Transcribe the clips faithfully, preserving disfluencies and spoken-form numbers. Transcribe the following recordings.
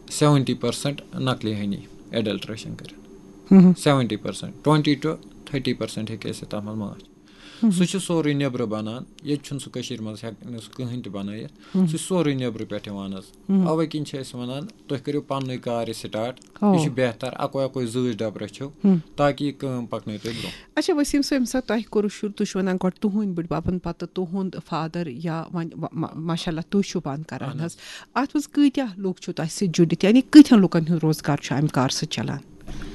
Seventy percent نقلی honey, ایڈلٹریشن کٔرِتھ۔ Seventy percent, twenty to تھٔٹی پٔرسنٹ ہیٚکہِ ٲسِتھ تَتھ منٛز ماچھ۔ سُہ چھُ سورُے نیٚبرٕ بَنان، ییٚتہِ چھُنہٕ سُہ کٔشیٖرِ منٛز ہٮ۪کہِ نہٕ سُہ کٕہٕنۍ تہِ بَنٲیِتھ۔ سُہ چھُ سورُے نیٚبرٕ پٮ۪ٹھ یِوان حظ۔ اَوَے کِنۍ چھِ أسۍ وَنان، تُہۍ کٔرِو پَننُے کار یہِ سٹارٹ۔ یہِ چھُ بہتر، اَکوے اَکوے زۭز ڈَبہٕ رٔچھِو، تاکہِ یہِ کٲم پَکنٲیِو تُہۍ برٛونٛہہ۔ اچھا وسیٖم صٲب، ییٚمہِ ساتہٕ تۄہہِ کوٚروٕ شروٗع، تُہۍ چھِو وَنان گۄڈٕ تُہٕنٛدۍ بٔڈۍ بَبَن، پَتہٕ تُہُنٛد فادر، یا وۄنۍ وۄ-، ما-، ماشاء اللہ تُہۍ چھِو پانہٕ کَران اَہَن حظ۔ حظ۔ اَتھ منٛز کۭتیٛاہ لُکھ چھِو تۄہہِ سۭتۍ جُڑِتھ، یعنی کۭتیٛاہ لُکَن ہُنٛد روزگار چھُ اَمہِ کارٕ سۭتۍ چَلان؟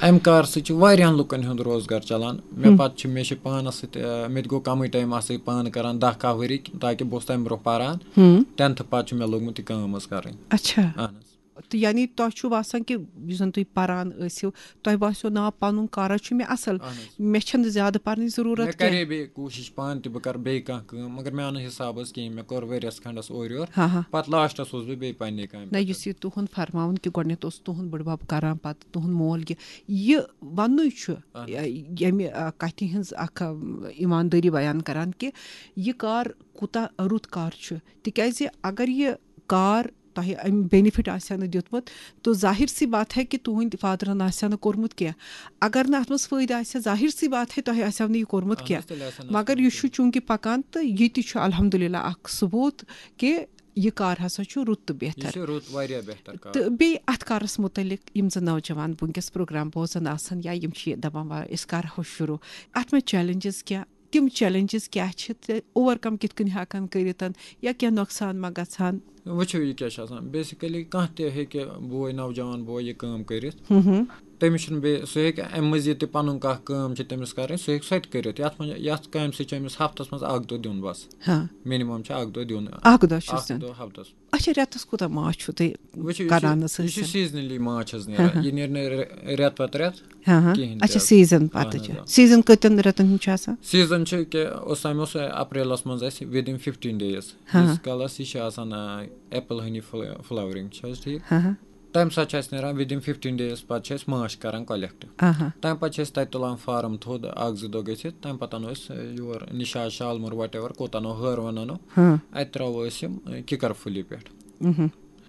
اَمہِ کارٕ سۭتۍ چھِ واریاہَن لُکَن ہُنٛد روزگار چَلان۔ مےٚ ہُم۔ پَتہٕ چھِ، مےٚ چھِ پانَس سۭتۍ، آ، مےٚ تہِ گوٚو کَمٕے ٹایم اَتھ سۭتۍ پانہٕ کَران، دَہ کاہ ؤری، تاکہِ بہٕ اوسُس تَمہِ برٛونٛہہ پَران۔ ہُم۔ ٹینتھٕ پَتہٕ چھِ مےٚ لوٚگمُت یہِ کٲم حظ کَرٕنۍ۔ اچھا۔ اَہَن حظ۔ تہٕ یعنی تۄہہِ چھُ باسان کہِ یُس زَن تُہۍ پَران ٲسِو، تۄہہِ باسیو نا پَنُن کارا چھُ مےٚ اَصٕل، اَہَن حظ۔ مےٚ چھَنہٕ زیادٕ پَرنٕچ ضروٗرت مےٚ کینٛہہ۔ کَرے بیٚیہِ کوٗشِش پانہٕ تہِ، بہٕ کَرٕ بیٚیہِ کانٛہہ کٲم، مگر مےٚ آو نہٕ حِسابَس کِہیٖنۍ۔ مےٚ کوٚر ؤریَس کھنٛڈَس اورٕ یورٕ، ہاں، ہاں۔ پَتہٕ لاسٹَس اوسُس بہٕ بیٚیہِ پنٛنہِ کامہِ نہ، پٮ۪ٹھ۔ یُس یہِ تُہُنٛد فرماوُن کہِ گۄڈٕنٮ۪تھ اوس تُہُنٛد بٕڈبَب کَران، پَتہٕ تُہُنٛد مول کہِ یہِ وَننُے چھُ، اَہَن حظ۔ یہِ-، ییٚمہِ، آ، کَتھِ ہٕنٛز اَکھ، آ، ایٖماندٲری بیان کَران کہِ یہِ کار کوٗتاہ رُت کار چھُ، تِکیٛازِ اگر یہِ کار تۄہہِ اَمہِ بینِفِٹ آسہِ ہا نہٕ دیُتمُت، تو ظاہر سی بات ہے کہ تُہٕنٛدۍ فادرَن آسہِ ہا نہٕ کوٚرمُت کینٛہہ۔ اگر نہٕ اَتھ منٛز فٲیدٕ آسہِ ہا، ظاہر سی بات ہے تۄہہِ آسہِ ہا نہٕ یہِ کوٚرمُت اَہَن حظ، کینٛہہ۔ تیٚلہِ آسہِ ہا نہٕ مگر اَتھ یہِ منٛز چھُ کینٛہہ۔ چوٗنٛکہِ پَکان، تہٕ یہِ تہِ چھُ الحمدللہ اَکھ ثبوٗت کہ یہِ کار ہسا چھُ رُت تہٕ یہِ بہتر۔ چھُ رُت، واریاہ بہتر کار۔ تہٕ بیٚیہِ اَتھ کارَس مُتعلِق یِم زَن نوجوان وٕنکیٚس پروگرام بوزان آسَن یا یِم چھِ یہِ دَپان، "وَ أسۍ کَرہو شروٗع"، اَتھ منٛز چیلنجز کیٛاہ، تِم چیلنجز کیٛاہ چھِ تہٕ اوور کم کِتھ کٔنۍ ہٮ۪کان کٔرِتھ، یا کینٛہہ نۄقصان ما گژھان؟ وٕچھِو، یہِ کیٛاہ چھُ آسان۔ بیسِکٔلی کانٛہہ تہِ ہیٚکہِ بوے، نوجوان بوے، یہِ کٲم کٔرِتھ۔ ہُم ہُم۔ تٔمِس چھُنہٕ بیٚیہِ، سُہ ہیٚکہِ اَمہِ مٔزیٖد تہِ پَنُن کانٛہہ کٲم چھِ تٔمِس کَرٕنۍ، سُہ ہیٚکہِ سۄ تہِ کٔرِتھ۔ یَتھ منٛز، یَتھ کامہِ سۭتۍ چھُ أمِس ہفتَس منٛز اَکھ دۄہ دیُن بَس۔ ہاں۔ مِنِمَم چھُ اَکھ دۄہ دیُن۔ اَکھ دۄہ چھُس اَکھ دیُن۔ دۄہ ہفتَس۔ اچھا، رٮ۪تَس کوٗتاہ ماچھ چھُو تُہۍ وٕچھِو، یہِ چھُ، کَران یہِ چھُ حظ؟ Seasonally ماچھ حظ نیران۔ ہاں، ہاں۔ یہِ نیرِ نہٕ رِ-، رٮ۪تہٕ پَتہٕ رٮ۪تھ ہاں، ہاں۔ کِہیٖنۍ تہِ اچھا، حظ۔ Season پَتہٕ اَہَن حظ، چھُ۔ آ۔ Season کٔژَن رٮ۪تَن ہُنٛد چھُ آسان؟ Season چھُ کہِ اوس تَمہِ اوس اپریلَس منٛز اَسہِ within fifteen days۔ ہاں، ہاں۔ ییٖتِس کالَس یہِ چھِ آسان، آ، apple honey فل-، flowering چھِ حظ ٹھیٖک؟ ہاں، ہاں۔ تَمہِ ساتہٕ چھِ اَسہِ نیران within fifteen days، پَتہٕ چھِ أسۍ ماچھ کَران collect۔ آہا۔ تَمہِ پَتہٕ چھِ أسۍ تَتہِ تُلان فارم تھوٚد، اَکھ زٕ دۄہ گٔژھِتھ، تَمہِ پَتہٕ اَنو أسۍ، آ، یور نِشاط، شالمور، whatever، کوٚت اَنو، ہٲروَن اَنو، ہاں۔ اَتہِ ترٛاوو أسۍ یِم، آ، کِکر پھُلہِ پٮ۪ٹھ۔ مہم۔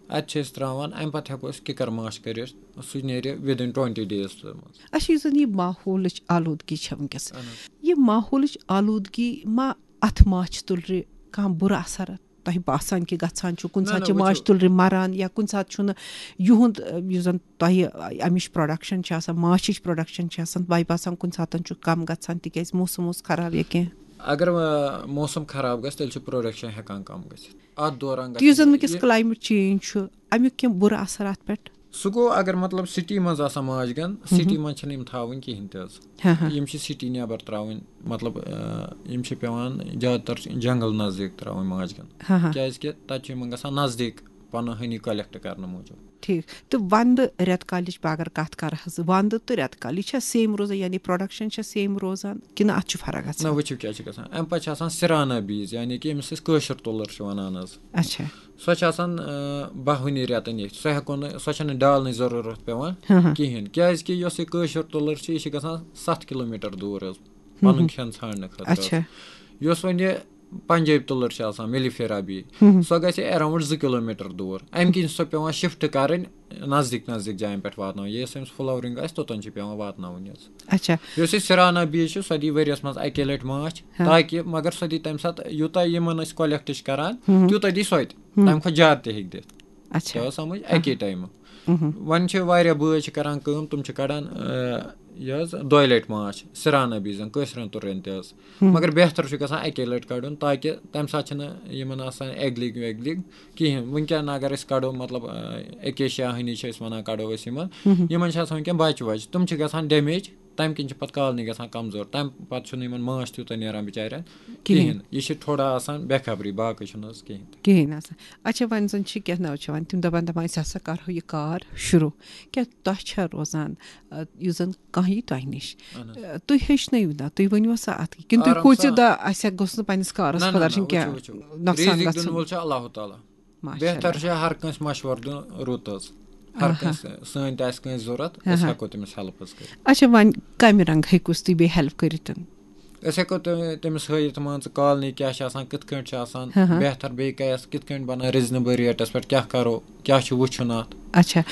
اَتہِ چھِ أسۍ ترٛاوان، اَمہِ پَتہٕ ہٮ۪کو أسۍ کِکر ماچھ کٔرِتھ، سُہ نیرِ within twenty days منٛز۔ اچھا، یُس زَن یہِ ماحولٕچ آلوٗدگی چھےٚ وٕنکیٚس، اَہَن حظ۔ یہِ ماحولٕچ آلوٗدگی ما اَتھ ماچھِ تُلرِ کانٛہہ بُرٕ اثر تۄہہِ باسان کہِ گژھان چھُ؟ کُنہِ نہ، ساتہٕ نہ، چھِ وٕچھِو۔ ماچھِ تُلرِ مَران، یا کُنہِ ساتہٕ چھُنہٕ یِہُنٛد، یُس زَن تۄہہِ اَمِچ production چھِ آسان، ماچھِچ production چھِ آسان، تۄہہِ باسان کُنہِ ساتَن چھُ کَم گژھان تِکیٛازِ موسم اوس خراب یا کینٛہہ؟ اگر، آ، موسم خراب گژھِ، تیٚلہِ چھُ production ہٮ۪کان کَم گٔژھِتھ۔ اَتھ دوران تہٕ یُس زَن گژھِ وٕنکیٚس یہِ climate change چھُ، اَمیُک کینٛہہ بُرٕ اثر اَتھ پٮ۪ٹھ؟ سُہ گوٚو، اگر مطلب city منٛز آسان ماچھ گَن، ہُم۔ City منٛز چھِنہٕ یِم تھاوٕنۍ کِہیٖنۍ تہِ حظ۔ ہاں، ہاں۔ یِم چھِ city نٮ۪بر ترٛاوٕنۍ، مطلب، آ، یِم چھِ پٮ۪وان زیادٕ تر جنگل نزدیٖک ترٛاوٕنۍ ماچھ گَن۔ ہاں، ہاں۔ کیٛازِ کہِ تَتہِ چھُ یِمن گژھان نزدیٖک پَنُن honey collect کرنہٕ موٗجوٗب۔ ٹھیٖک۔ تہٕ وَندٕ رٮ۪تہٕ کالِچ بہٕ اگر کَتھ کَرٕ حظ، وَندٕ تہٕ رٮ۪تہٕ کال، یہِ چھا same روزان، یعنی production چھا same روزان کِنہٕ اَتھ چھُ فرق گژھان؟ نہ، وٕچھِو کیٛاہ چھِ گژھان۔ اَمہِ پَتہٕ چھِ آسان سِرانہ بیٖج، یعنی کہِ ییٚمِس أسۍ کٲشُر تُلر چھِ وَنان حظ۔ اچھا۔ سۄ چھِ آسان، آ، باہ ؤنی رٮ۪تَن ییٚتھۍ۔ سۄ ہٮ۪کو نہٕ، سۄ چھَنہٕ ڈالنٕچ ضروٗرت پٮ۪وان ہاں، ہاں۔ کِہیٖنۍ، کیٛازِ کہِ یۄس یہِ کٲشُر تُلر چھِ، یہِ چھِ گژھان ستھ کِلوٗ میٖٹر دوٗر حظ، ہُم، پَنُن ہُم۔ کھٮ۪ن ژھانڈنہٕ خٲطرٕ حظ۔ اچھا۔ یۄس وۄنۍ یہِ پنجٲبۍ تُلر چھِ آسان، mellifera بیٖج، ہُم، ہُم۔ سۄ گژھِ around زٕ کِلوٗ میٖٹر دوٗر۔ اَمہِ کِنۍ چھِ سۄ پٮ۪وان shift کَرٕنۍ نزدیٖک نزدیٖک جایَن پٮ۪ٹھ واتناوٕنۍ۔ یۄس أمِس flowering آسہِ، توٚتَن چھِ پٮ۪وان واتناوٕنۍ حظ۔ اچھا۔ یۄس یہِ سِرانہ بیٖج چھِ، سۄ دی ؤریَس منٛز اَکے لَٹہِ ماچھ، ہاں۔ تاکہِ، مگر سۄ دی تَمہِ ساتہٕ یوٗتاہ یِمَن أسۍ collect چھِ کَران، ہُم، ہُم۔ تیوٗتاہ دی سۄ تہِ۔ ہُم۔ تَمہِ کھۄتہٕ زیادٕ تہِ ہیٚکہِ دِتھ۔ اچھا۔ تۄہہِ آو سمجھ؟ ہاں۔ اَکے ٹایمہٕ۔ مہم۔ وۄنۍ چھِ واریاہ بٲژ چھِ کران کٲم، تِم چھِ کڑان، آ، یہِ حظ دۄیہِ لٹہِ ماچھ، سِرانہ بیٖجن، کٲشرٮ۪ن تُرٮ۪ن تہِ حظ۔ ہم۔ مگر بہتر چھُ گژھان اَکے لٹہِ کڑُن، تاکہِ تَمہِ ساتہٕ چھِنہٕ یِمن آسان egg laying ویگ laying کِہیٖنۍ۔ وٕنکٮ۪ن اگر أسۍ کڑو، مطلب، آ، acacia honey چھِ أسۍ وَنان، کڑو أسۍ یِمن، ہم۔ یِمن چھِ آسان وٕنکٮ۪ن بچہِ وچہِ، تِم چھِ گژھان damage۔ تَمہِ کِنۍ چھِ پَتہٕ colony گژھان کمزور، تَمہِ پَتہٕ چھُنہٕ یِمَن ماچھ تیوٗتاہ نیران بِچارٮ۪ن کِہیٖنۍ۔ کِہیٖنۍ۔ یہِ چھِ تھوڑا آسان بے خبری، باقٕے چھُنہٕ حظ کِہیٖنۍ تہِ۔ کِہیٖنۍ آسان۔ اچھا، وۄنۍ زَن چھِ کینٛہہ نوجوان، تِم دَپان، دَپان، "أسۍ ہسا کَرہو یہِ کار شروٗع۔" کیٛاہ تۄہہِ چھا روزان، آ، یُس زَن کانٛہہ یی تۄہہِ نِش، اَہَن حظ۔ آ، تُہۍ ہیٚچھنٲیِو نا، تُہۍ ؤنِو سا اَتھ کِنہٕ تُہۍ آرام کھوٗژِو سان۔ دا، اَسہِ ہا گوٚژھ نہٕ پنٛنِس کارَس نہ، نہ، خۄدا نہ، رٔچھِنۍ کینٛہہ وٕچھِو، وٕچھِو۔ نۄقصان رِزِق دِنہٕ گژھُن؟ وول چھُ اللہ تعالیٰ۔ ماشاء بہتر اللہ۔ چھُ ہر کٲنٛسہِ مشورٕ دیُن رُت حظ۔ ہر آہا۔ کٲنٛسہِ، سٲنۍ تہِ آسہِ کٲنٛسہِ ضوٚرَتھ، أسۍ آہا۔ ہٮ۪کو تٔمِس help حظ کٔرِتھ۔ اچھا، وۄنۍ کَمہِ رنٛگہٕ ہیٚکوس تُہۍ بیٚیہِ help کٔرِتھ؟ أسۍ ہٮ۪کو تٔمِس ہٲیِتھ، مان ژٕ، colony کیٛاہ چھِ آسان، کِتھ کٲٹھۍ چھِ آسان، ہاں، ہاں۔ بہتر بیٚیہِ کیٛاہ، کِتھ کٲٹھۍ بَنان reasonable rateس پٮ۪ٹھ، کیٛاہ کَرو، کیٛاہ چھُ وٕچھُن اَتھ۔ اچھا،